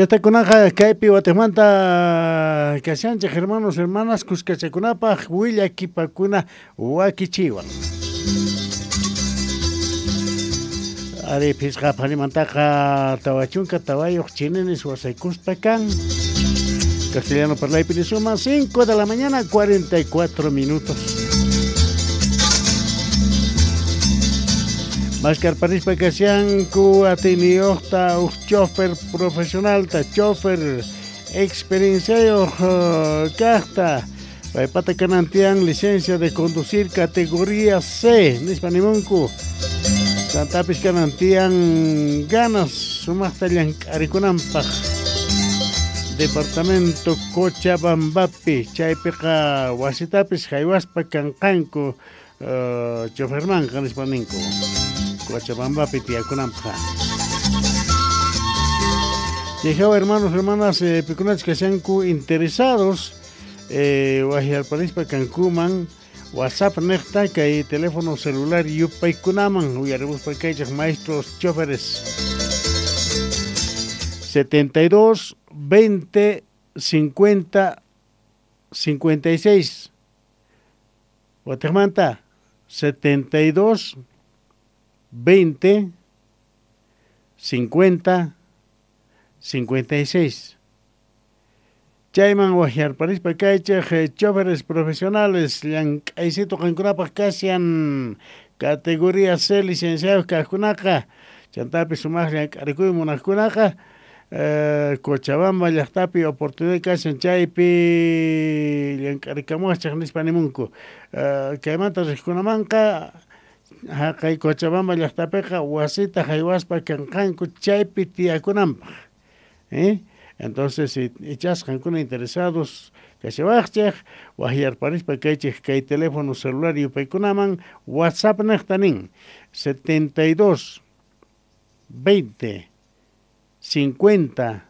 Llaqtakunaqa kaypi watimanta kashanchik hermanos hermanas kuskachakunapaq willakipakuna wakichiwan. Ari phisqa phanimantaqa 44 chininis wasaykuspa kan. Castellano parlaypi nisuma 5 de la mañana 44 minutos. Maskarparispa kashanku atiyniyuqta uq chofer profesionalta, chofer experienciayuq kaqta. Paypata kanantian licencia de conducir categoría C, nispa nimunku. Chantapis kanantian ganas sumaqta llank'arikunanpaq. Departamento Cochabambapi, chaypiqa wasitapis haywaspa kanqanku chofermanqa nispa ninku. Cochabambapi tiyakunanpaq. Chayhawa hermanos, hermanas, pikunachus kashanku interesados wahyarparispa kankuman WhatsApp niqta kay teléfono celular yupaykunaman uyarimuspa kaychaq maestros choferes 72 20 50 56. Watimanta 72 20 50 56. Chayman wahyarparispa kaychaq choferes profesionales llank'aysito qankunapaq kashan categoría C licenciados kaqkunaqa chantapis sumaq llank'arikuy munaqkunaqa Cochabamba llaqtapi oportunidad kashan chaypi llank'arikamuwachaq nispa nimunku. Kaymanta riqkunamanqa haqay Cochabamba llaqtapiqa wasita haywaspa kanqanku chaypi tiyakunanpaq. Entonces, ichas qankuna interesados kashawaqchik wahyarparispa kaychik kay teléfono celular yupaykunaman WhatsApp niqta nin 72 20 50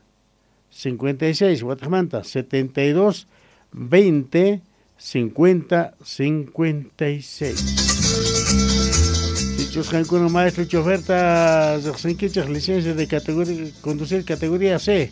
56. Watajmanta 72 20 50 56. Sichus qankuna maestro choferta riqsinkichik licencia de categoría conducir categoría C.